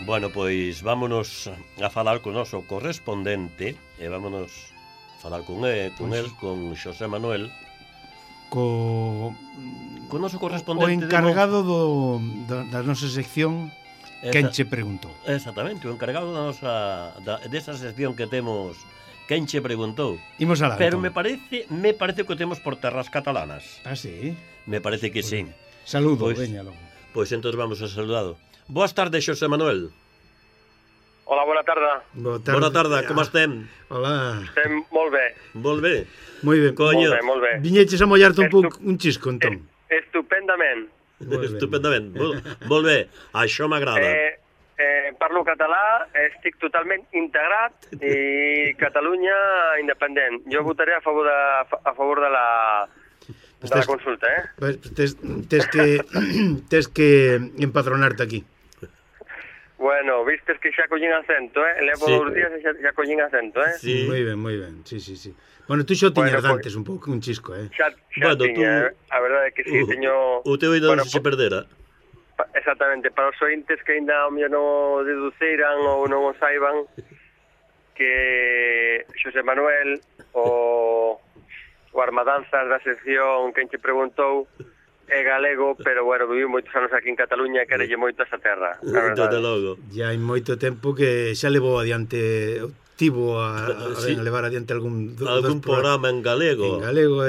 Bueno, pois vámonos a falar con o noso correspondente e vámonos a falar con el, con Xosé Manuel, co noso o correspondente encargado da nosa sección Quen che preguntou. Exactamente, o encargado desa sección que temos Quen che preguntou. Imos alá. Pero entón. me parece que o temos por terras catalanas. Ah, sí? Me parece que sí. Saludo, Pois, veña logo. Pois entón vamos a saludado. Boas tardes, Xosé Manuel. Hola, bona tarda. Boa tarde, como estem? Hola. Estem molt bé. Molt bé. Moi ben. Coño, Molt bé. Viñeches a mollarte un pouco un chisco, entón. Estupendament. estupendament. Molt bé, això m'agrada. Parlo català, estic totalment integrat i Catalunya independent. Jo votaré a favor de la consulta, Tes que empadronarte aquí. Bueno, vistes que xa collín acento, Levo Sí. 2 días e xa collín acento, Sí. Moi ben. Sí. Bueno, tú xo tiñas Bueno, antes un pouco un chisco, Xa Bueno, tiña, a verdade é que sí, teño... O teu oído Bueno, non se perdera. Exactamente, para os ointes que ainda o mellor non o deduciran ou non o saiban, que Xosé Manuel, o armadanzas da sección Quen che preguntou, é galego, pero bueno, viviu moitos anos aquí en Cataluña e querelle moito esa terra. Desde logo. Ya hai moito tempo que xa levou adiante tivo a Sí. levar adiante algún Programa en galego. en galego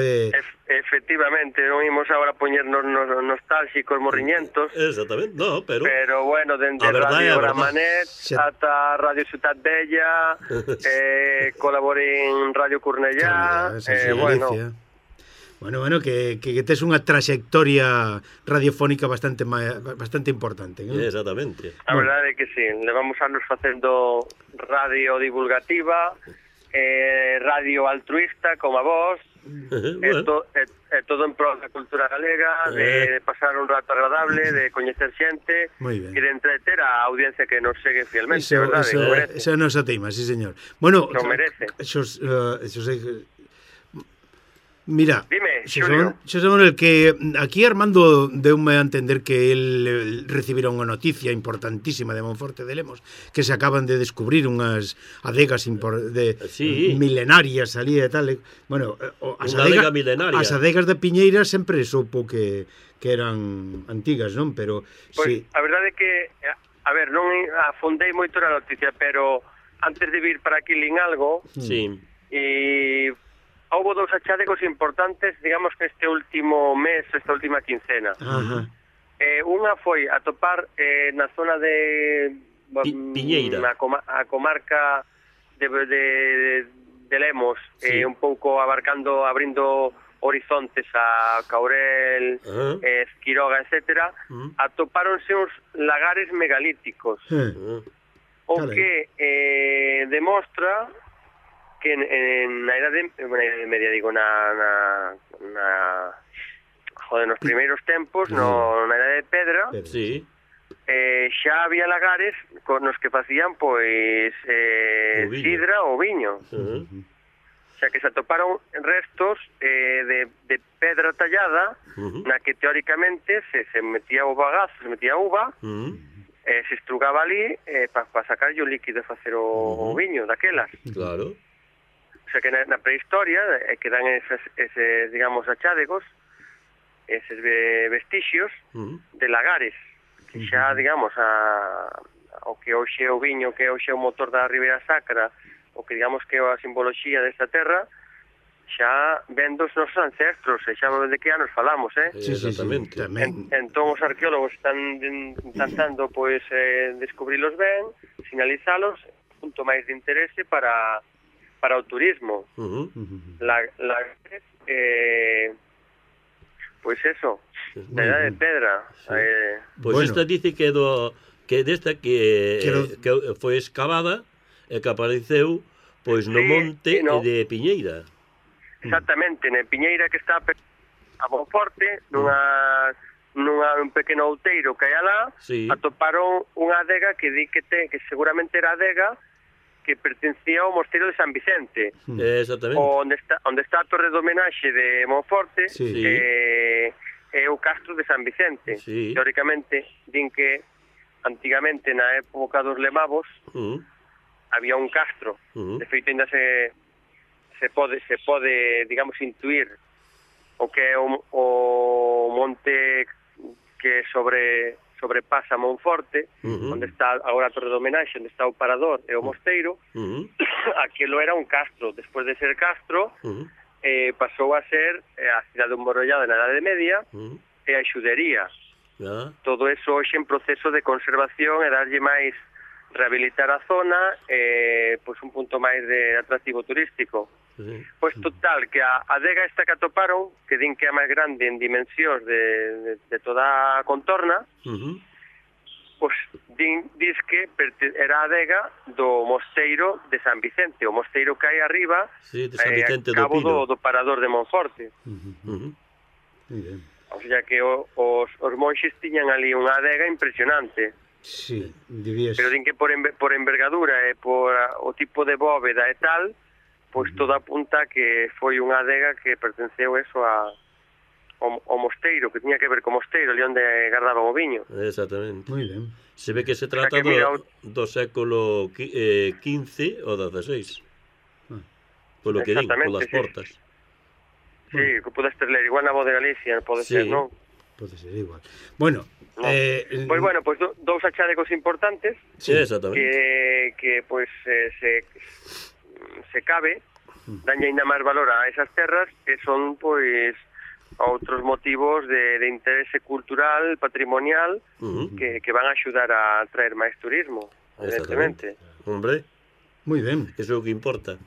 Efectivamente, non imos agora poñernos nostálxicos morriñentos, Exactamente, no, pero bueno, dende A verdade é Radio a verdade. Gramanet ata Radio Ciutat Bella, colaborei en Radio Cornellá, Bueno, que tes unha traxectoria radiofónica bastante importante, non? exactamente. A verdade é que sí, levamos anos facendo radio divulgativa, radio altruista, como a vos, Bueno, todo en pro da cultura galega, de pasar un rato agradable, de coñecer xente Moi ben. e de entreter a audiencia que nos segue fielmente, Eso, verdade? eso, Que merece. eso non se teima, sí, señor. Bueno, Lo merece. Mira, Dime, Xulio. Xosé Manuel, que aquí Armando deume a entender que el recibira unha noticia importantísima de Monforte de Lemos, que se acaban de descubrir unhas adegas Sí. milenarias ali e tal. Bueno, Unha adega milenaria. As adegas de Piñeira sempre supo que eran antigas, non? Pero Pois, sí. a verdade é que, a ver, non afondei moito na noticia, pero antes de vir para aquí lin algo, sí. e houve 2 achadegos importantes, digamos que este último mes, esta última quincena. Ajá. Unha foi atopar na zona de Piñeira. a comarca de Lemos, Sí. un pouco abrindo horizontes a Caurel, Esquiroga, etcétera, atopáronse uns lagares megalíticos, o Carai. que demostra que na idade media, digo, nos primeiros tempos, na idade de pedra, Sí. xa había lagares con os que facían, pois, sidra ou viño. O sea, que se atoparon restos de pedra tallada, na que teóricamente se metía o bagazo, se metía uva, se estrugaba ali para sacar o líquido e facer o viño daquelas. Claro. O sea, que na prehistoria que dan eses, digamos, achádegos, eses vestixios de lagares, que xa, digamos, o que hoxe é o viño, que hoxe é o motor da Ribeira Sacra, o que, digamos, que é a simboloxía desta terra, xa ven dos nosos ancestros, e xa de que anos falamos, Sí, Exactamente. tamén. Entón os arqueólogos están intentando, pois, descubrilos ben, sinalizalos, punto máis de interese para o turismo. Pois eso, na idade de pedra. Pois esta dice que desta que foi excavada e que apareceu pois no monte de Piñeira. Exactamente, na Piñeira, que está a Monforte, un pequeno outeiro que hai alá, atoparon unha adega que di que seguramente era adega que pertencía ao mosteiro de San Vicente. Exactamente. Onde está a torre de homenaxe de Monforte, é o castro de San Vicente. Teóricamente, din que antigamente na época dos lemavos había un castro. De feito, ainda se pode, digamos, intuir o que é o monte que sobrepasa Monforte, onde está agora a Torre do Homenaxe, onde está o Parador e o Mosteiro. Aquilo era un castro. Despois de ser castro, pasou a ser a cidade emborollada na Idade Media e a xudería. Todo eso hoxe en proceso de conservación e darlle máis, rehabilitar a zona, pois un punto máis de atractivo turístico. Pois total, que a adega esta que atoparon, que din que é a máis grande en dimensións de toda a contorna, pois dis que era a adega do mosteiro de San Vicente, o mosteiro que hai arriba, de San Vicente a cabo do Parador de Monforte. Muy ben. O sea que os monxes tiñan ali unha adega impresionante. Sí, debías... Pero din que por envergadura e por o tipo de bóveda e tal, pois todo apunta que foi unha adega que pertenceu eso ao mosteiro, que tiña que ver co mosteiro, ali onde guardaban o viño. Exactamente. Muy ben. Se ve que se trata do século XV ou XVI. Polo que din, polas portas. Sí, que podes ler igual na voz de Galicia, pode ser, non? Pode ser igual. Bueno, pois bueno, pois dous achadegos importantes. Sí, exactamente. Que pois se cabe, danlle ainda máis valor a esas terras, que son pois outros motivos de interese cultural, patrimonial, que van a axudar a traer máis turismo, evidentemente. Hombre, moi ben. Eso é o que importa.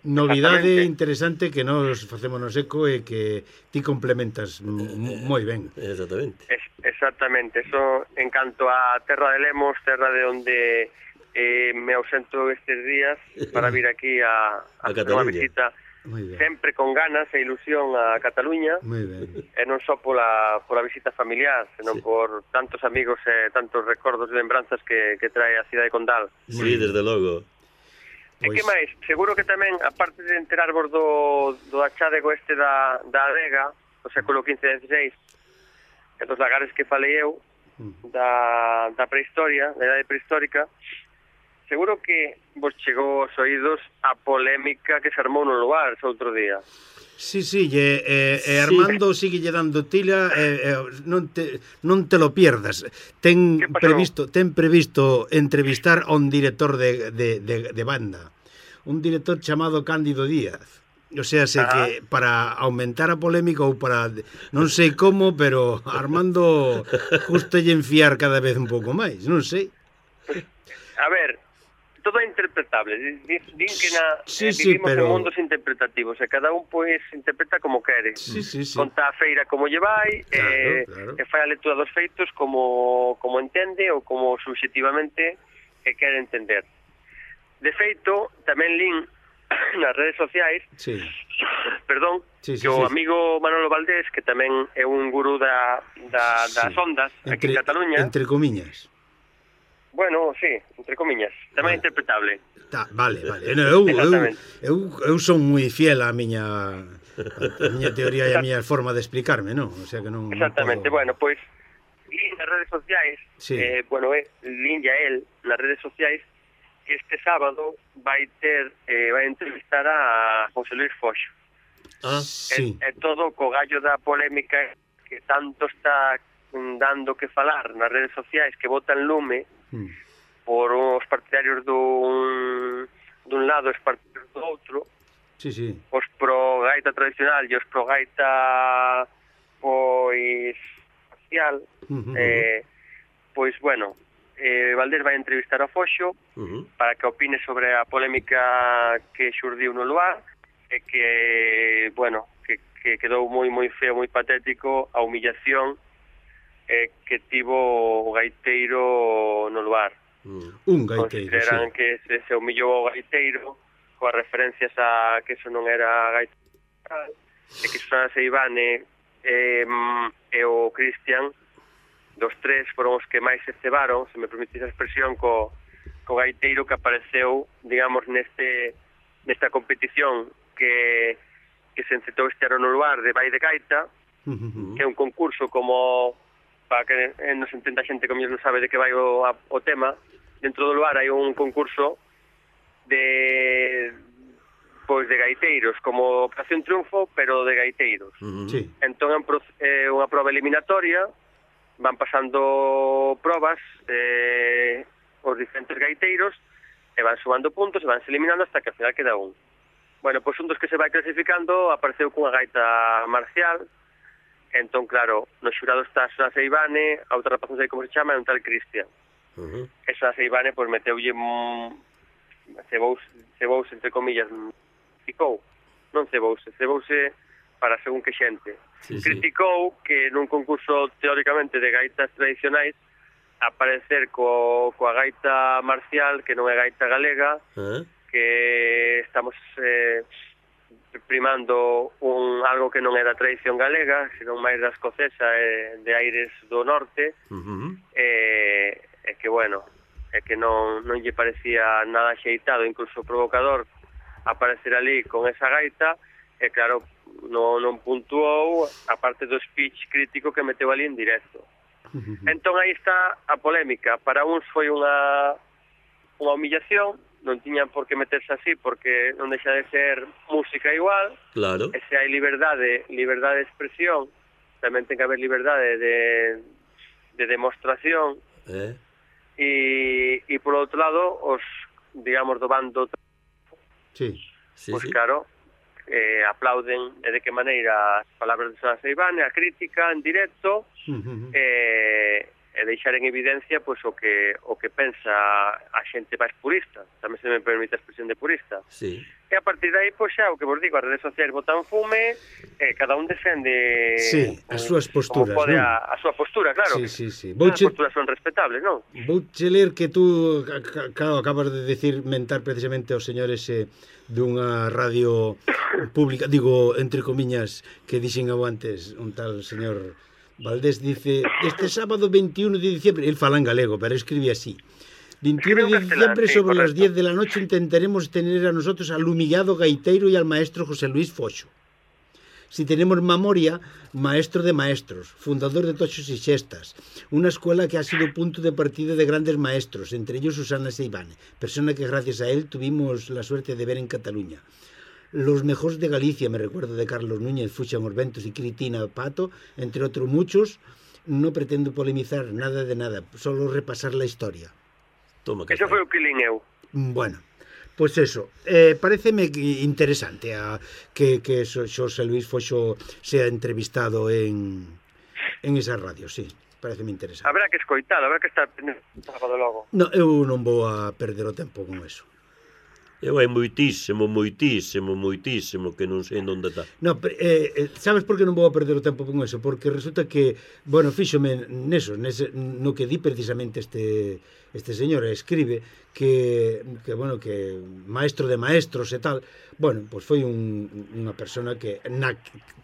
Novidade interesante que nos facémonos eco e que ti complementas moi ben. Exactamente. Exactamente. Eso, en canto a terra de Lemos, terra de onde me ausento estes días para vir aquí a unha visita sempre con ganas e ilusión a Cataluña, e non só pola visita familiar, senón por tantos amigos e tantos recordos e lembranzas que trae a cidade condal. Sí, desde logo. E que máis? Seguro que tamén, aparte de enterarvos do achadego este da adega do século XV e XVI e dos lagares que falei eu, da prehistoria, da idade prehistórica, seguro que vos chegou aos oídos a polémica que se armou no lugar ese outro día. Sí, Armando sigue lle dando tila, non te lo pierdas. Ten previsto entrevistar a un director de banda, un director chamado Cándido Díaz. O sea, que para aumentar a polémica ou para non sei como, pero Armando justo lle enfiar cada vez un pouco máis, non sei. A ver, todo é interpretable. Din que vivimos en mundos interpretativos e cada un pois interpreta como quere. Conta a feira como lle vai, e fai a lectura dos feitos como entende ou como subxectivamente quere entender. De feito, tamén lin nas redes sociais que o amigo Manolo Valdés, que tamén é un gurú das ondas aquí en Cataluña, entre comiñas. Bueno, sí, entre comiñas, tamén interpretable. Vale. Eu son moi fiel á miña teoría e á miña forma de explicarme, non? O sea que non. Exactamente. Bueno, pois lin nas redes sociais, lin ya él nas redes sociais que este sábado vai entrevistar a José Luis Foxo. É todo co gallo da polémica que tanto está dando que falar nas redes sociais, que botan lume por os partidarios dun lado e os partidarios do outro, os pro gaita tradicional e os pro gaita pois social. Pois bueno, Valdés vai entrevistar a Foxo para que opine sobre a polémica que xurdiu no lugar e que, bueno, que quedou moi feo, moi patético a humillación que tivo o gaiteiro no lugar. Un gaiteiro, consideran que se humillou o gaiteiro coas referencias a que eso non era gaiteiro e que Susana Seivane e o Cristian, dos tres foron os que máis se cebaron, se me permitís a expresión, co gaiteiro que apareceu, digamos, nesta competición que se encetou este ano no lugar de Vai de Gaita, que é un concurso como para que nos entenda a xente que non sabe de que vai o tema, dentro do lugar hai un concurso de gaiteiros, como Operación Triunfo, pero de gaiteiros. Sí. Entón é unha prova eliminatoria, van pasando probas os diferentes gaiteiros e van sumando puntos e van se eliminando hasta que ao final queda un. Bueno, pois un dos que se vai clasificando apareceu cunha gaita marcial. Entón, claro, no xurado está Susana Seivane, a outra rapaz non sei como se chama, é un tal Cristian. Esa Seivane, pois, meteulle cebouse, entre comillas, criticou, non cebouse para según que xente. Criticou que nun concurso, teóricamente, de gaitas tradicionais, aparecer coa gaita marcial, que non é gaita galega, que estamos primando algo que non é da tradición galega, senón máis da escocesa e de aires do norte, e que, bueno, é que non lle parecía nada xeitado, incluso provocador, aparecer ali con esa gaita, e claro, non puntuou, a parte do speech crítico que meteu ali en directo. Entón aí está a polémica. Para uns foi unha humillación, non tiñan por que meterse así porque non deixa de ser música igual. Claro. E se hai liberdade de expresión, tamén ten que haber liberdade de demostración. E por outro lado, os, digamos, do bando pois claro, aplauden de que maneira as palabras de Susana Seivane, a crítica en directo, e deixar en evidencia pois o que pensa a xente máis purista, tamén se me permite a expresión de purista. E a partir de aí, pois xa, o que vos digo, as redes sociais botan fume, cada un defende as súas posturas, non? A súa postura, claro. As posturas son respetables, non? Vouche ler que tú, claro, acabas de decir, mentar precisamente aos señores dunha radio pública, digo, entre comiñas, que dixen antes un tal señor Valdés, dice, este sábado 21 de diciembre, él fala en galego, pero escribe así, 21 de diciembre sobre las 10 de la noche intentaremos tener a nosotros al humillado gaitero y al maestro José Luis Foxo. Si tenemos memoria, maestro de maestros, fundador de Tochos y Xestas, una escuela que ha sido punto de partida de grandes maestros, entre ellos Susana Seivane, persona que gracias a él tuvimos la suerte de ver en Cataluña. Los mejores de Galicia, me recuerdo de Carlos Núñez, Fuxan Orbentos y Cristina Pato, entre otros muchos. No pretendo polemizar nada de nada, solo repasar la historia. Eso foi o que lin eu. Bueno, pois eso, pareceme interesante que Xosé Luis Foxo sea entrevistado en esa radio, sí, pareceme interesante. Habrá que escoitalo, habrá que estar sábado logo. No, eu non vou a perder o tempo con eso. Eu hai moitísimo que non sei onde está. No, sabes por que non vou a perder o tempo con eso? Porque resulta que, bueno, fíxome no que di precisamente este señor, escribe que bueno, que maestro de maestros e tal, bueno, pois foi unha persona que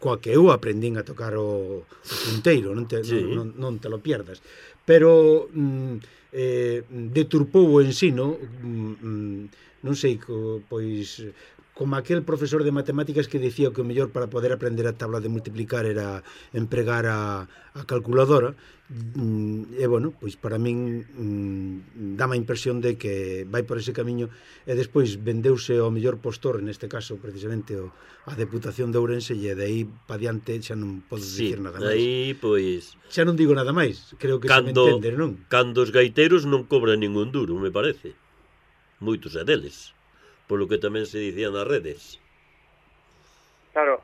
coa que eu aprendín a tocar o punteiro, non te lo pierdas. Pero deturpou o ensino, non sei, pois como aquel profesor de matemáticas que dicía que o mellor para poder aprender a tabla de multiplicar era empregar a calculadora, e bueno, pois para min dá-me a impresión de que vai por ese camiño, e despois vendeuse ao mellor postor, neste caso precisamente a Deputación de Ourense, e de aí pa diante xa non podo dicir nada máis. Aí, pois, xa non digo nada máis, creo que se me entende, non? Cando os gaiteiros non cobran ningún duro, me parece. Moitos é deles, polo que tamén se dicía nas redes. Claro.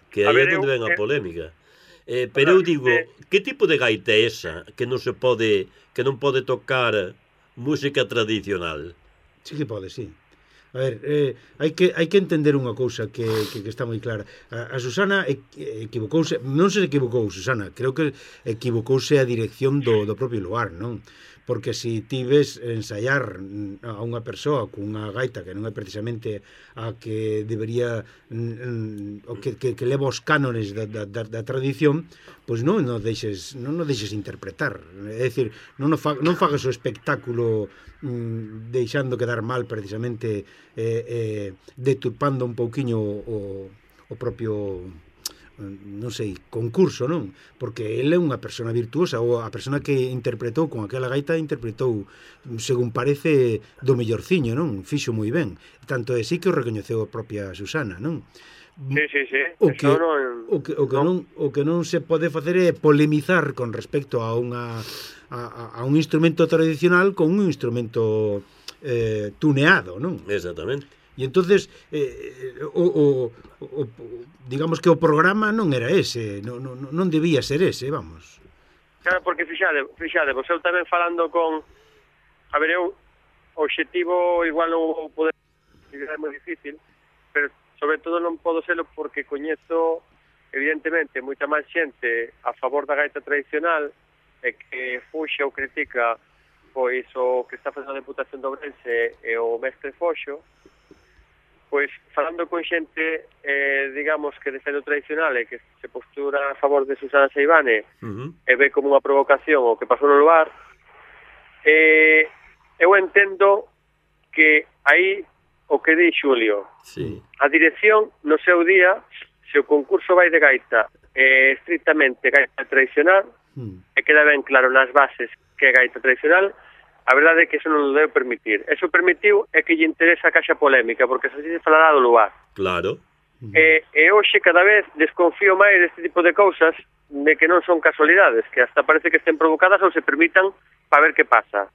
Que aí é onde ven a polémica. Pero eu digo, que tipo de gaita é esa que non pode tocar música tradicional? Sí que pode, sí. A ver, hai que entender unha cousa que está moi clara. A Susana equivocouse, non se equivocou Susana, creo que equivocouse a dirección do propio lugar, non? Porque se ti ves ensaiar a unha persoa cunha gaita que non é precisamente a que debería o que leva os cánones da tradición, pois non o deixes interpretar, é dicir, non fagas o espectáculo deixando quedar mal precisamente, deturpando un pouquiño o propio non sei, concurso, non? Porque ele é unha persona virtuosa, ou a persona que interpretou con aquela gaita interpretou, según parece, do mellorciño, non? Fixo moi ben. Tanto é así que o recoñeceu a propia Susana, non? Sí. O que non se pode facer é polemizar con respecto a un instrumento tradicional con un instrumento tuneado, non? Exactamente. E entonces digamos que o programa non era ese, non debía ser ese, vamos. Claro, porque fixade, vos eu tamén falando con... A ver, eu o obxectivo igual non o poder, é moi difícil, pero sobre todo non podo serlo porque coñezo evidentemente moita máis xente a favor da gaita tradicional e que fuxa ou critica pois o que está facendo a Deputación de Ourense e o mestre Foxo. Pois, falando con xente, digamos, que defende o tradicional e que se postura a favor de Susana Seivane e ve como unha provocación o que pasou no lugar, eu entendo que aí o que di Xulio, a dirección no seu día, se o concurso vai de gaita estrictamente gaita tradicional, e queda ben claro nas bases que é gaita tradicional, a verdade é que eso non o debe permitir. Eso permitiu é que lle interesa a caixa polémica, porque así se falará do lugar. Claro. E hoxe cada vez desconfío máis deste tipo de cousas, de que non son casualidades, que hasta parece que estén provocadas ou se permitan para ver que pasa.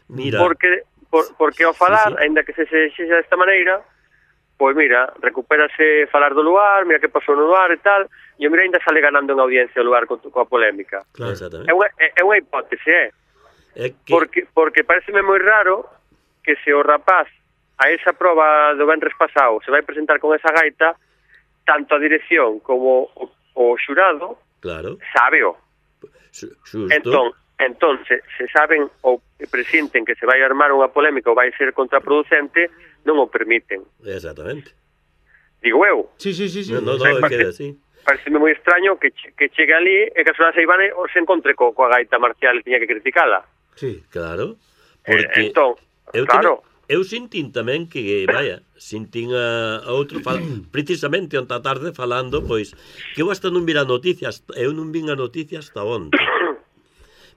Mira. Porque ao falar, aínda que se sexa desta maneira, pois mira, recupérase falar do lugar, mira que pasou no lugar e tal, e mira, ainda sale ganando en audiencia o lugar coa polémica. Claro. É unha hipótese, que... Porque pareceme moi raro que se o rapaz a esa proba do venres pasado se vai presentar con esa gaita, tanto a dirección como o xurado, claro, sábeo. Entón, se saben ou presienten que se vai armar unha polémica ou vai ser contraproducente, non o permiten. Exactamente. Digo eu. Sí. No, queda así. Pareceme moi extraño que chegue ali e que a Susana Seivane se encontre coa gaita marcial e tiña que criticala. Sí, claro. Porque entón, eu sintín tamén que, sintín a outro precisamente onta tarde falando, pois, que eu hasta non vi noticias, eu non vin a noticias hasta onte.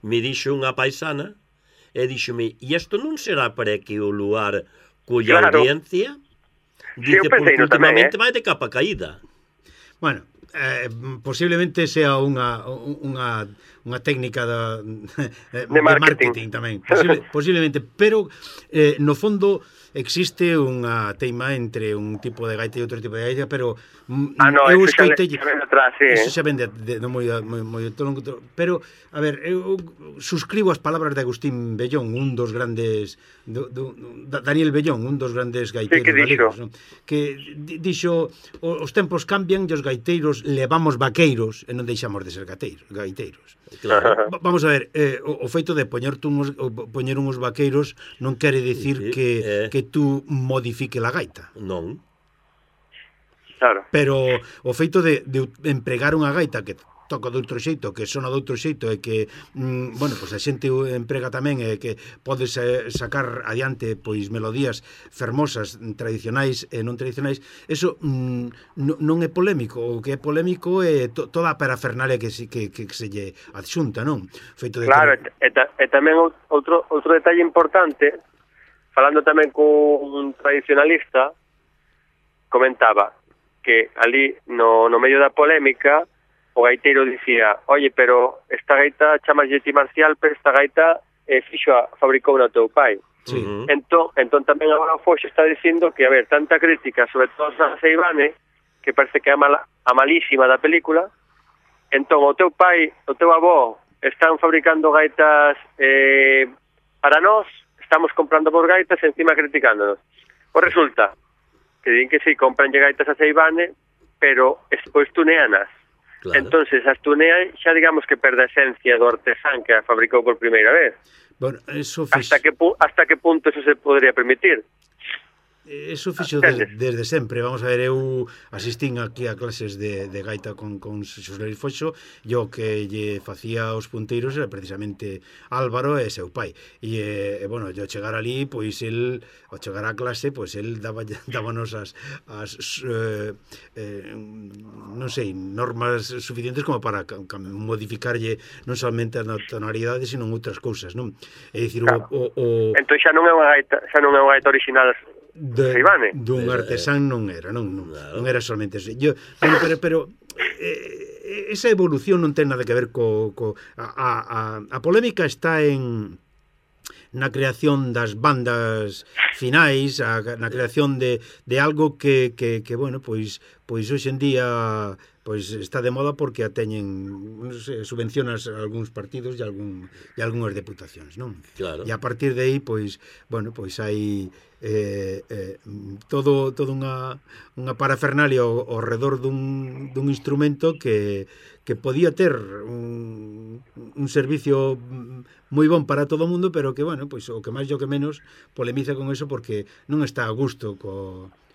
Me dixo unha paisana e dixome, e isto non será para que o lugar cuya audiencia? Dice, porque últimamente vai de capa caída. Bueno, posiblemente sea unha técnica de marketing tamén, posiblemente, pero no fondo existe unha teima entre un tipo de gaita e outro tipo de gaita, pero eu escoitei eso xa ven de moi longo, pero a ver, eu suscribo as palabras de Agustín Bellón, un dos grandes Daniel Bellón, un dos grandes gaiteiros galegos, ¿no? Que dixo, os tempos cambian e os gaiteiros levamos vaqueiros e non deixamos de ser gaiteiros. Claro. Vamos a ver, o feito de poñer uns vaqueiros non quere dicir que tú modifique la gaita. Non. Claro. Pero o feito de empregar unha gaita que toca de outro xeito, que sona de outro xeito e que, bueno, pois a xente emprega tamén e que podes sacar adiante pois melodías fermosas, tradicionais e non tradicionais, eso non é polémico. O que é polémico é toda a parafernalia que se lle adxunta, non? Feito de claro, e tamén outro detalle importante, falando tamén cun tradicionalista, comentaba que ali no medio da polémica o gaiteiro dicía, oye, pero esta gaita chamaslle ti marcial, pero esta gaita fabricou no teu pai. Sí. Entón tamén agora o Foxo está dicindo que, a ver, tanta crítica, sobre todo a Seivane, que parece que é a malísima da película, entón o teu pai, o teu avó, están fabricando gaitas para nós, estamos comprando por gaitas e encima criticándonos. Pois resulta que din que si, compranlle gaitas a Seivane, pero despois tuneanas. Claro. Entonces, as tunean xa digamos que perde a esencia do artesán que a fabricou por primeira vez. Bueno, eso hasta que punto eso se podría permitir? Eso fixo desde sempre. Vamos a ver, eu asistín aquí a clases de gaita con Xosé Luis Foxo, e o que lle facía os punteiros era precisamente Álvaro e seu pai. E bueno, yo chegar ali, pois el, ao chegar á clase, pois el dábanos as non sei, normas suficientes como para modificarlle non somente as tonalidades, sino outras cousas, non? É dicir, claro. Entón xa non é unha gaita original dun artesán non era, non era solamente eso. Pero esa evolución non ten nada que ver a polémica está na creación das bandas finais, na creación de algo que bueno, pois hoxe en día pois está de moda porque a teñen, non sei, subvencionas algúns partidos e algunhas deputacións, non? Claro. E a partir de aí, pois, bueno, pois hai todo unha parafernalia ao redor dun instrumento que podía ter un servicio moi bon para todo o mundo, pero que, bueno, pois o que máis e o que menos polemiza con eso porque non está a gusto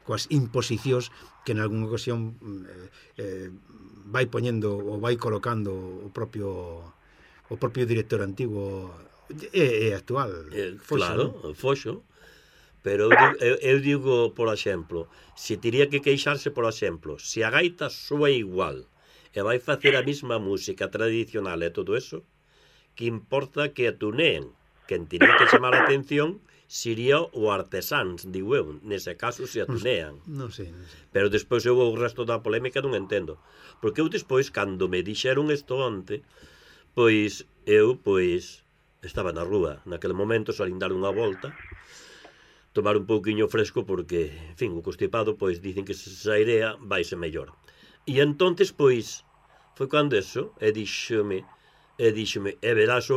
coas imposicións que en algunha ocasión vai poñendo ou vai colocando o propio director antigo e actual. Claro, Foxo. Pero eu digo, por exemplo, se teria que queixarse, por exemplo, se a gaita soa igual e vai facer a mesma música tradicional e todo eso, que importa que a tuneen. Quen teria que chamar a atención sería o artesáns, digo eu, nese caso se a tunean. Non sei. Pero despois eu o resto da polémica non entendo. Porque eu despois, cando me dixeron isto onte, pois eu estaba na rúa, naquele momento salín dar unha volta, tomar un pouquiño fresco porque, en fin, o constipado, pois dicen que se airea vaise mellor. E entonces, pois, foi cando eso, e díxome, verás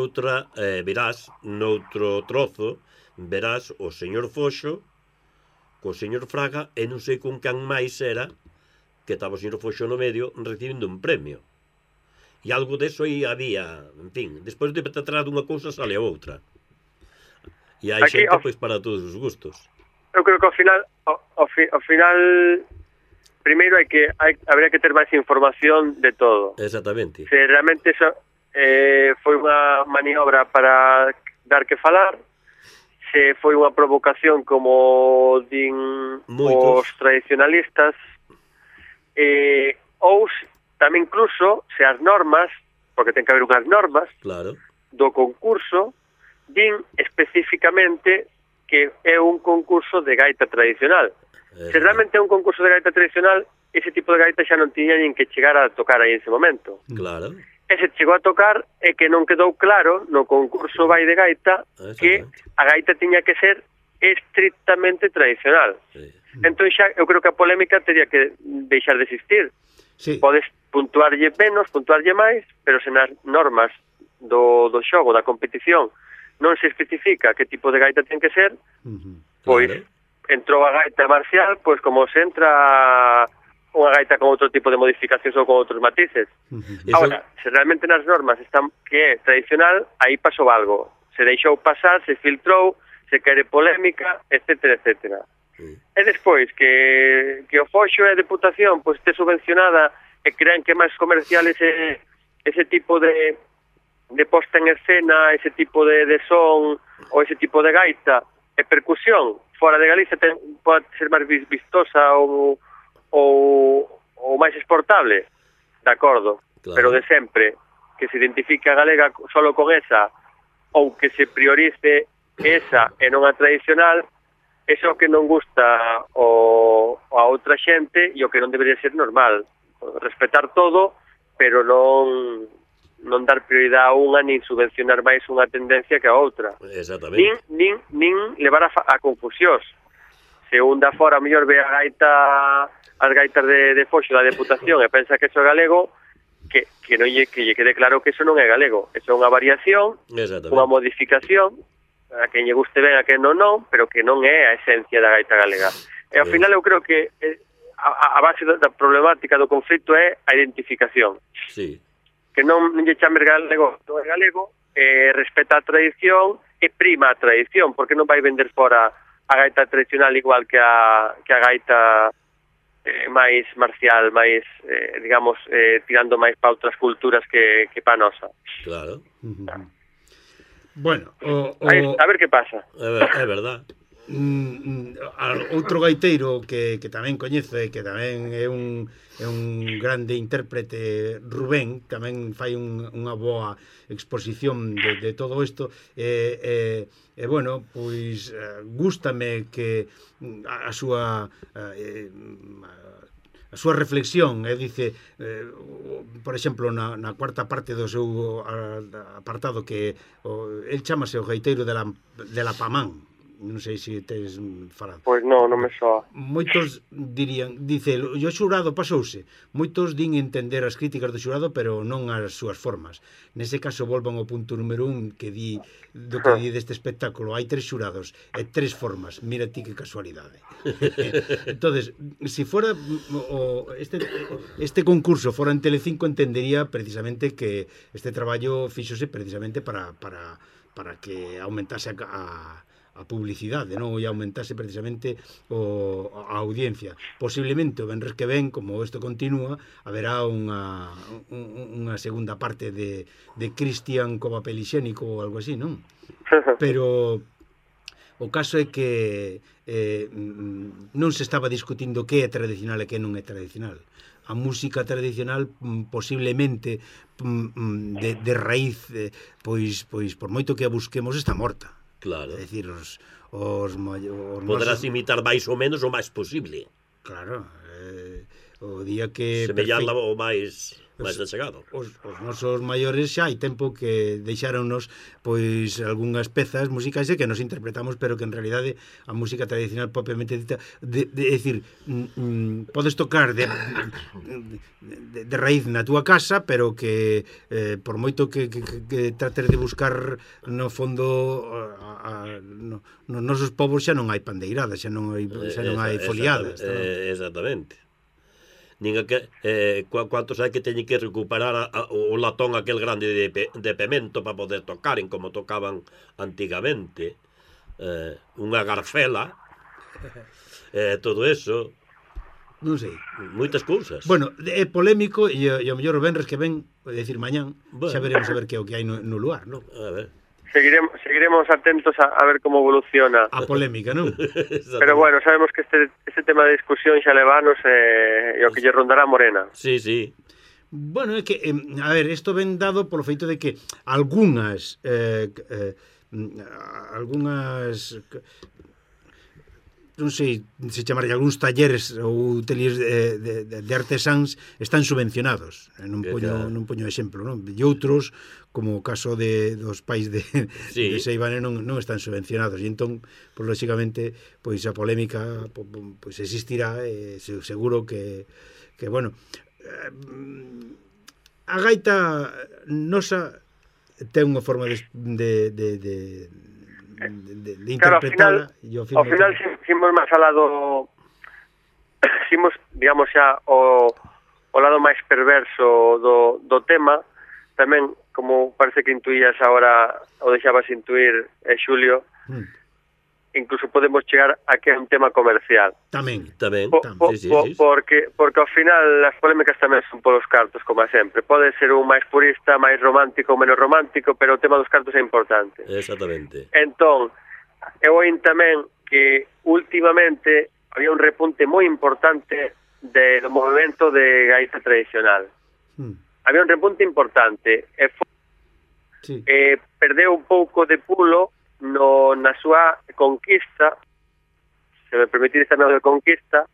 noutro trozo, verás o señor Foxo, co señor Fraga, e non sei con can máis era, que estaba o señor Foxo no medio, recibindo un premio. E algo deso aí había, en fin, despois de tratar dunha cousa sale a outra. E hai xente, pois, para todos os gustos. Eu creo que ao final primeiro habría que ter máis información de todo. Exactamente. Se realmente eso foi unha maniobra para dar que falar, se foi unha provocación como din os tradicionalistas, ou tamén incluso se as normas, porque ten que haber unhas normas, claro, do concurso din especificamente que é un concurso de gaita tradicional. Se realmente é un concurso de gaita tradicional, ese tipo de gaita xa non tiña nin que chegar a tocar aí en ese momento. Claro. E se chegou a tocar é que non quedou claro no concurso Vai de Gaita que a gaita tiña que ser estrictamente tradicional. Sí. Entón xa eu creo que a polémica teria que deixar de existir. Sí. Podes puntuarlle menos, puntuarlle máis, pero se nas normas do xogo, da competición, non se especifica que tipo de gaita ten que ser, pois entrou a gaita marcial, pois como se entra unha gaita con outro tipo de modificacións ou con outros matices. Ahora, se realmente nas normas están que é tradicional, aí pasou algo. Se deixou pasar, se filtrou, se quere polémica, etcétera, etcétera. E despois, que o Foxo e a Deputación pois este subvencionada e crean que é máis comercial ese tipo de posta en escena, ese tipo de son ou ese tipo de gaita e percusión fora de Galicia pode ser máis vistosa ou máis exportable, de acordo, claro. Pero de sempre que se identifique a galega solo con esa ou que se priorice esa e non a tradicional, eso que non gusta a outra xente e o que non debería ser normal. Respetar todo, pero non dar prioridade a unha nin subvencionar máis unha tendencia que a outra. Exactamente. Nin levar a confusións. Se un da fora mellor ve as gaitas de Foxo da Deputación e pensa que eso é galego, que lle quede claro que eso non é galego. Eso é unha variación, unha modificación, a quen lle guste ben, a quen non, pero que non é a esencia da gaita galega. E ao final eu creo que a base da problemática do conflito é a identificación. Sí. Que non lle chames galego, non é galego, respeta a tradición e prima a tradición, porque non vai vender fora a gaita tradicional igual que a gaita máis marcial, máis, digamos, tirando máis para outras culturas que para a nosa. Claro. Bueno, a ver que pasa. É verdad. Outro gaiteiro que tamén coñezo e que tamén é un grande intérprete, Rubén, tamén fai unha boa exposición de todo isto e bueno, pois gústame que a súa reflexión dice, por exemplo, na cuarta parte do seu apartado que el chámase o gaiteiro de la Pamán. Non sei se tes falado. Pois non me soa. Moitos dirían, dice, o xurado pasouse. Moitos din entender as críticas do xurado, pero non as súas formas. Nese caso volvan ao punto número 1 que di deste espectáculo. Hai 3 xurados e 3 formas. Mira ti que casualidade. Entonces, se fora este concurso fora en Telecinco, entendería precisamente que este traballo fíxose precisamente para que aumentase a publicidade, non? E aumentase precisamente a audiencia. Posiblemente o venres que ven, como isto continúa, haberá unha segunda parte de Cristian co papel higiénico ou algo así, non? Pero o caso é que non se estaba discutindo que é tradicional e que non é tradicional. A música tradicional posiblemente de raíz, pois por moito que a busquemos, está morta. Claro. É dicir, poderás imitar máis ou menos o máis posible. Claro, o día que semellarla o máis achegado. Os nosos maiores xa hai tempo que deixáronnos pois algunhas pezas musicais que nos interpretamos, pero que en realidade a música tradicional propiamente dita é dicir, podes tocar de raíz na túa casa, pero que por moito que trates de buscar no fondo nos nosos povos xa non hai pandeiradas, xa non hai foliadas. Exactamente. Cuantos hai que teñen que recuperar o latón aquel grande de pemento para poder tocar en como tocaban antigamente, unha garfela, todo eso, non sei, moitas cousas. Bueno, é polémico e ao mellor o venres que ven, é dicir mañán, xa veremos a ver que é o que hai no lugar, non? A ver. Seguiremos atentos a ver como evoluciona a polémica, non? Pero bueno, sabemos que este tema de discusión xa levanos e o que lle rondará Morena. Sí, sí. Bueno, é que, a ver, isto ven dado polo feito de que algunhas non sei se chamarlle algúns talleres ou ateliers de artesáns están subvencionados, non poño exemplo, non? E outros, como o caso dos pais de Seivane, non están subvencionados, e entón, pois, lóxicamente, pois a polémica pois existirá, seguro que bueno, a gaita nosa ten unha forma de interpretarla. Claro, ao final ximos máis alado, ximos, digamos, xa o lado máis perverso do tema. Tamén, como parece que intuías agora, o deixabas intuir, Xulio, incluso podemos chegar a que é un tema comercial. Tamén. Sí. Porque ao final as polémicas tamén son polos cartos, como sempre. Pode ser un máis purista, máis romántico ou menos romántico, pero o tema dos cartos é importante. Exactamente. Entón, eu oín tamén que últimamente había un repunte moi importante do movimento de gaita tradicional. Había un repunte importante e perdeu un pouco de pulo na súa conquista, se me permitires tamén de conquista,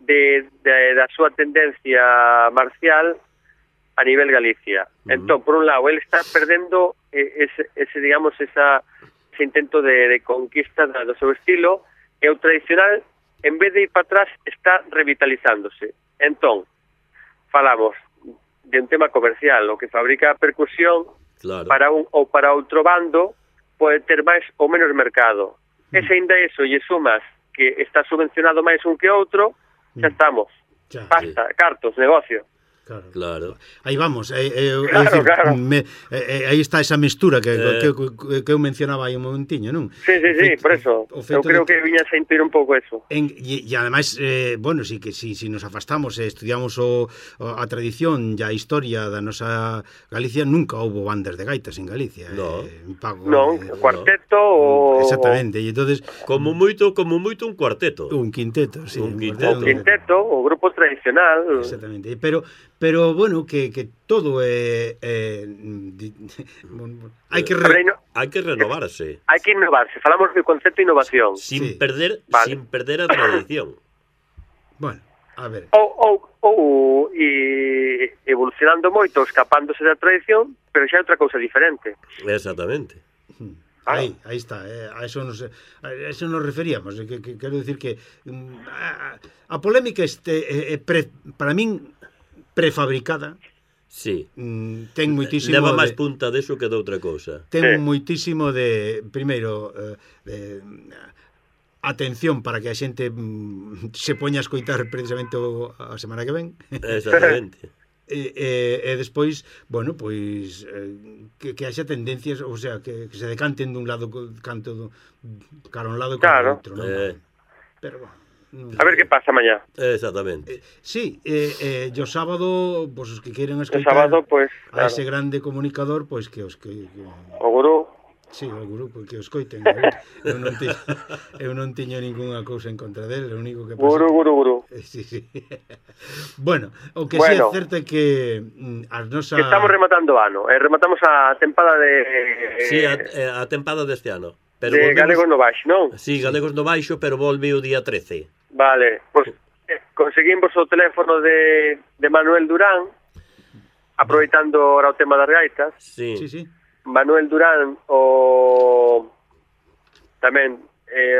da súa tendencia marcial a nivel Galicia. Entón, por un lado, ele está perdendo ese digamos, ese intento de conquista do seu estilo, e o tradicional, en vez de ir para atrás, está revitalizándose. Entón, falamos de un tema comercial, o que fabrica a percusión, claro, para un ou para outro bando pode ter máis ou menos mercado. E se ainda eso lle sumas que está subvencionado máis un que outro, xa estamos. Basta, cartos, negocio. Claro. Aí vamos, Claro. aí está esa mestura que eu mencionaba aí un momentiño, non? Sí, por eso. Eu creo que viña a sentir un pouco eso. E ademais, bueno, si nos afastamos e estudiamos a tradición e a historia da nosa Galicia, nunca houbo bandas de gaitas en Galicia. Non, cuarteto ou... Exactamente, e entonces Como moito un cuarteto. un quinteto, sí. Un quinteto. O quinteto, o grupo tradicional. Exactamente, pero bueno, que todo é hai que Hai que renovarse. Hai que innovarse, falamos do concepto de innovación. Sin perder a tradición. Bueno, a ver. Ou evolucionando moito, escapándose da tradición, pero xa é outra cousa diferente. Exactamente. Aí está, a eso nos referíamos, que quero decir que a polémica para min prefabricada. Sí. Ten moitísimo leva máis punta deso que de outra cousa. Ten moitísimo de primeiro atención para que a xente se poña a escoitar precisamente a semana que ven. Exactamente. E despois, bueno, pois que haxa tendencias, o sea, que se decanten dun lado cara un lado e cara outro, non? Pero bueno, a ver que pasa mañá. Exactamente. Sí, o sábado, pois os que queren escoitar o sábado, pois, a ese grande comunicador, pois que o gurú. Sí, o grupo que os coiten. Eu non tiño ningunha cousa en contra del, o único que pasa... Guru. Sí. Bueno, o que sí é certo é que as nosas... Estamos rematando o ano, rematamos a tempada de... Sí, a tempada deste ano. Pero de Galegos no Baixo, non? Sí, Galegos no Baixo, pero volve o día 13. Vale, pois conseguimos o teléfono de Manuel Durán, aproveitando ahora o tema das gaitas. Sí. Manuel Durán tamén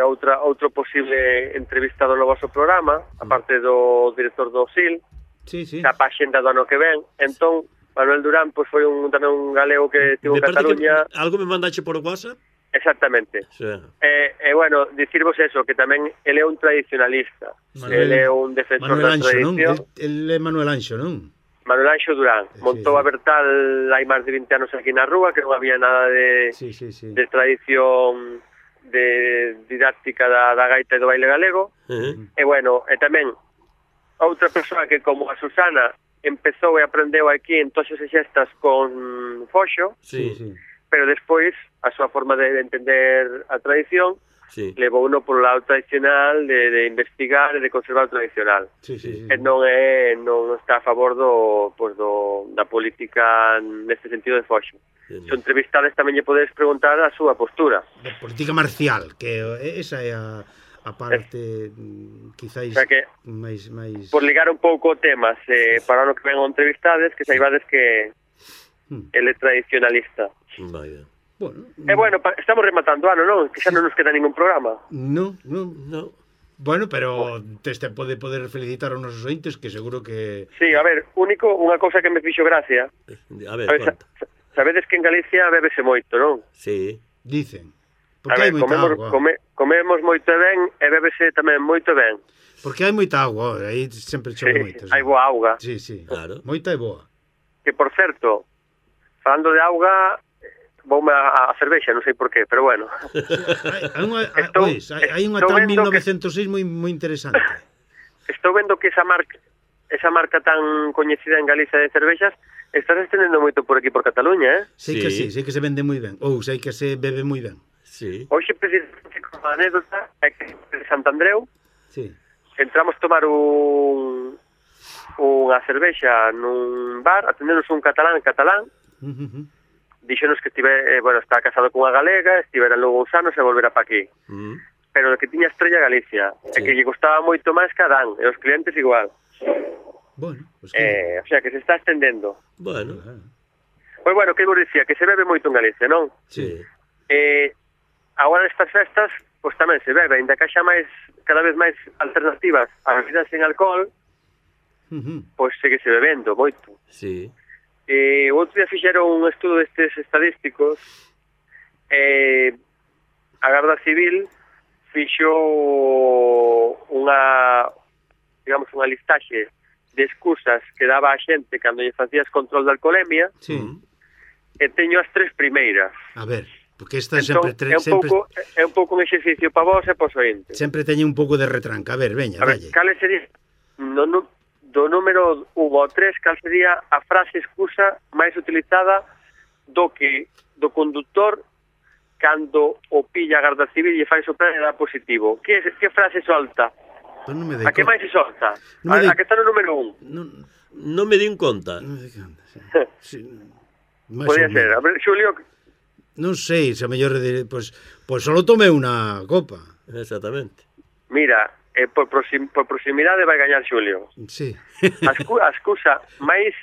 outro posible entrevistado no vosso programa, aparte do director do SIL, xa pa xenda do ano que ven. Entón, Manuel Durán pois foi tamén un galego que tivo en Cataluña. Algo me mandache por WhatsApp? Exactamente. Sí. Bueno, dicirvos eso, que tamén ele é un tradicionalista. Ele é un defensor da tradición. Ele é Manuel Anxo, non? Manuel Anxo Durán montou a Bertal hai máis de 20 anos aquí na rúa, que non había nada de tradición de didáctica da gaita e do baile galego. E bueno, e tamén outra persoa que como a Susana empezou e aprendeu aquí en toxas e xestas con Foxo, pero despois a súa forma de entender a tradición levou uno polo lado tradicional de investigar e de conservar o tradicional. E non está a favor da política neste sentido de Foxo. Se entrevistades tamén lle podedes preguntar a súa postura. Da política marcial, que esa é a parte quizáis máis... Por ligar un pouco o tema, para o que ven o entrevistades, que saibades que ele é tradicionalista. Vaya. Bueno, estamos rematando ano, non? Que xa non nos queda ningún programa. No. Bueno, pero te pode poder felicitar aos nosos ointes, que seguro que... Sí, a ver, unha cousa que me fixo gracia. A ver, sabedes que en Galicia bébese moito, non? Sí. Dicen. Porque hai moita auga. Comemos moito e ben, e bébese tamén moito e ben. Porque hai moita auga, aí sempre chove moito. Hai boa auga. Sí, claro. Moita e boa. Que, por certo, falando de auga... Voume a cervexa, non sei por qué, pero bueno. Hai unha tal 1906 moi interesante. Estou vendo que esa marca tan coñecida en Galicia de cervexas está se estendendo moito por aquí, por Cataluña, Sei que se vende moi ben, ou sei que se bebe moi ben. Hoxe, precisamente, con a anécdota, é que de Santandreu entramos a tomar unha cervexa nun bar, atendenos un catalán, díxonos que está casado cunha galega, estivera logo uns anos e volverá pa aquí. Pero que tiña estrella Galicia, e que lle costaba moito máis que Adán, e os clientes igual. Bueno, o sea, que se está estendendo. Bueno. Pois bueno, que vos dicía, que se bebe moito en Galicia, non? Sí. Agora nestas festas, pois tamén se bebe, ainda que haxa cada vez máis alternativas a bebidas sen alcohol, pois segue se bebendo moito. Sí. O outro día fixeron un estudo destes estadísticos, a Garda Civil fixo unha listaxe de excusas que daba a xente cando lle facías control de alcoholemia, Sí. e teño as 3 primeiras. A ver, porque esta Entón, sempre é un pouco un exercicio para vos e para os ointes. sempre teñe un pouco de retranca. A ver, veña, A ver, dalle. cal sería do número 1 ao 3, cal sería a frase excusa máis utilizada do conductor cando o pilla a Garda Civil e fai soprar e dá positivo? Que frase solta? Pues non me A que máis se solta? Non me A que está no número 1? Non me din conta. Non me conta, sí. Máis Podría ou ser. A menos. ver, Xulio, Non sei, se a mellor pues solo tomei unha copa. Exactamente. mira, por proximidade vai gañar Xulio. Sí. A excusa máis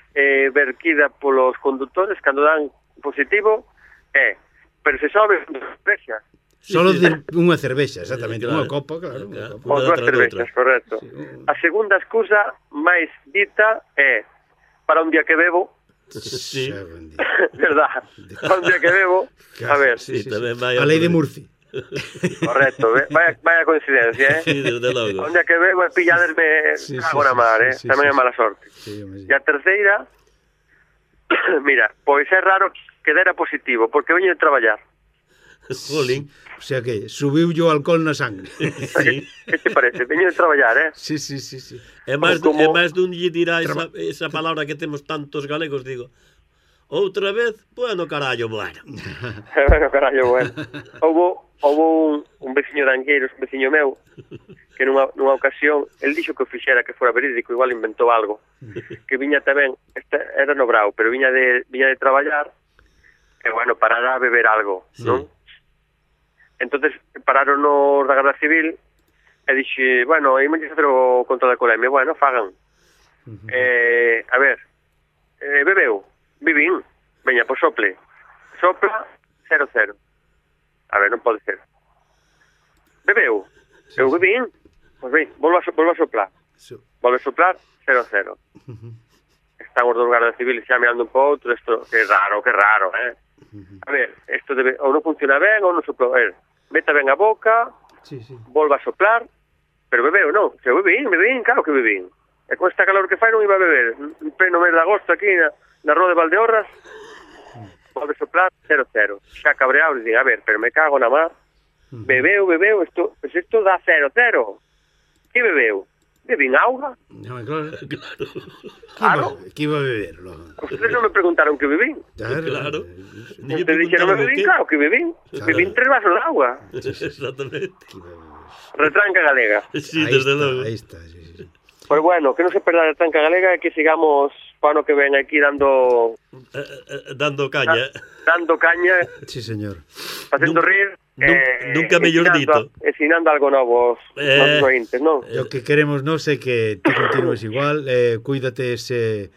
verquida polos conductores cando dan positivo é, pero se sobe unha cervexa. Solo sí. unha cervexa, exactamente, Claro. unha copa, claro. Unha copa. Ou Unha dúas tras cervexas, outra. correcto. A segunda excusa máis dita é para un día que bebo, Sí. Xa, buen día. verdad, para un día que bebo, a ver, Sí, tamén vai A lei de Murphy. correcto, vaya coincidencia, Sí, desde logo. Un día que bebo e pilladerme Sí, cago na mar, sí, tamén é sí. mala sorte. Sí, home, sí. E a terceira, mira, pois é raro que dera positivo, porque veño de traballar. Jolín. O sea que subiu yo alcohol na sangre. Sí. Que te parece? Veño de traballar, Sí. É máis Como- dun lle dirá esa palabra que temos tantos galegos, digo. Outra vez, bueno, carallo, bueno. Bueno, carallo, bueno. Houve un veciño de Angueiros, un veciño meu, que nunha ocasión, el dixo que o fixera que fora verídico, igual inventou algo, que viña tamén, era no Brao, pero viña de traballar, e bueno, parara a beber algo, Sí. non? Entonces pararon nos da Garda Civil e dixe, bueno, imos facer o control de alcoholemia, bueno, fagan. A ver, bebeu, vivín, veña, pois sopla 0-0. A ver, non pode ser. Bebeu, eu bebín, pois ben, volva a soplar. Volve a soplar 0-0. Están os dos guardas civiles xa mirando un po' outro, isto, que raro, A ver, isto debe, ou non funciona ben, ou non sopla, a ver, meta ben a boca, Sí. volva a soplar, pero bebeu, non, se bebín, claro que bebín. E con esta calor que fai non iba a beber, en pleno mes de agosto aquí na Rua de Valdeorras, volve a soplar 0-0. Xa cabreado, e dicen, a ver, pero me cago na mar, bebeu, isto dá 0-0. Que bebeu? Bebín auga. No, claro. Claro. Que iba a beber? Logo? Ustedes non me preguntaron que bebín. Claro. Ni lle Ustedes dixeron preguntaron o bebín, qué. claro que bebín. Claro. Bebín 3 vasos de agua. Exactamente. Retranca galega. Sí, Ahí desde está, logo. Pues Ahí está, sí. Pois bueno, que non se perda a retranca galega e que sigamos para ano que ven aquí dando Dando caña. Sí, señor. facendo Nunca- rir nunca mellor dito. ensinando algo novo aos nosos ointes, non? Lo que queremos non é que ti continúes igual, cuídate ese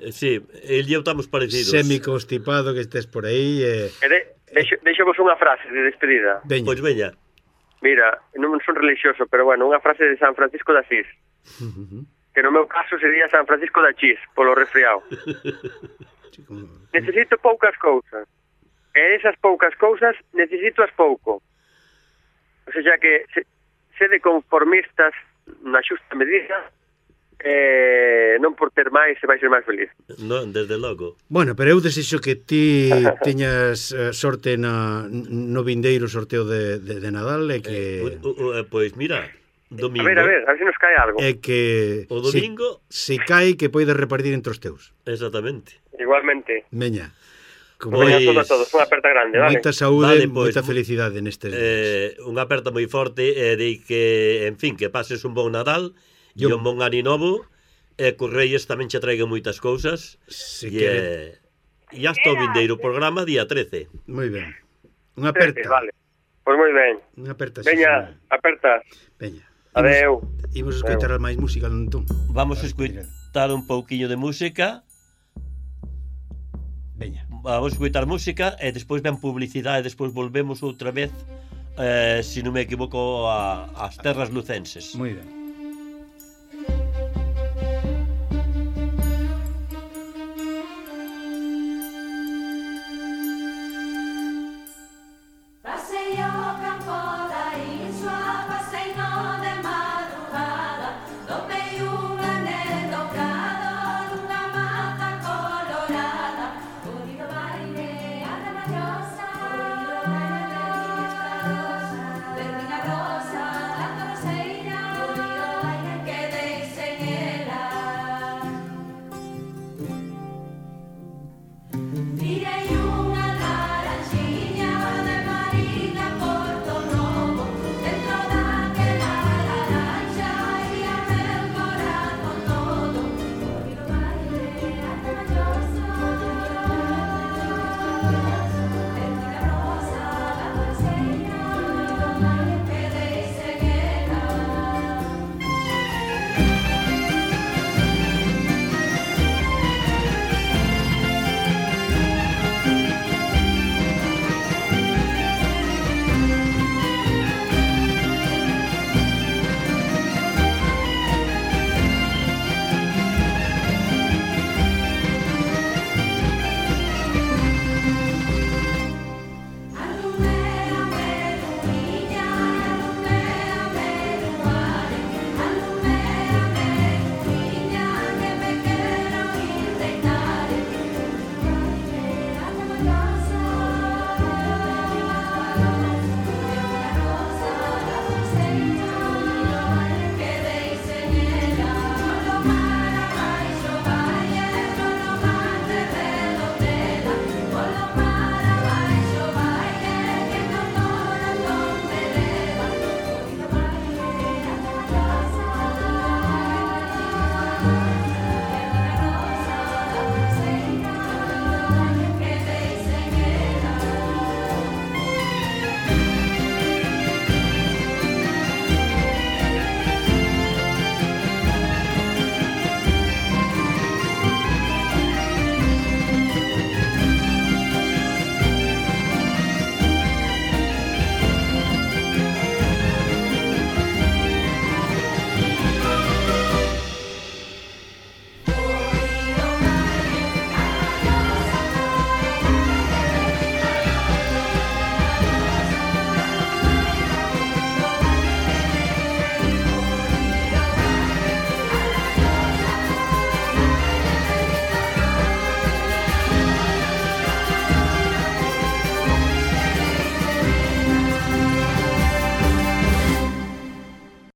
Sí, el e eu estamos parecidos. semi-constipado que estés por aí. Deixo vos unha frase de despedida. Veña. Pois veña. Mira, non son religioso, pero bueno, unha frase de San Francisco de Asís, que no meu caso sería San Francisco de Achís, polo resfriado. Necesito poucas cousas, e esas poucas cousas necesito as pouco. O sea que sede conformistas na xusta medida, non por ter máis se vai ser máis feliz. Non, desde logo. Bueno, pero eu desexo que ti teñas sorte no vindeiro sorteo de Nadal e que Pois mira, domingo. A ver se nos cae algo. e que O domingo. se cae que poides repartir entre os teus. Exactamente. Igualmente. Veña. Como Pois- Veña a todos, unha aperta grande, vale? moita saúde, Vale, pois, moita felicidade nestes días. Unha aperta moi forte e de que, en fin, que pases un bon Nadal e un bon ano novo e Correios tamén che traiga moitas cousas Se e, quere. e hasta o vindeiro programa día 13. Moi ben. Unha aperta. Vale. Pois moi ben. Unha aperta. Veña, aperta. Veña. Adeu. Imos escoitar máis música, entón. Vamos a escoitar un pouquiño de música. Veña. Vamos a escoitar música e despois ven publicidade e despois volvemos outra vez, se non me equivoco, ás terras lucenses. Moi ben.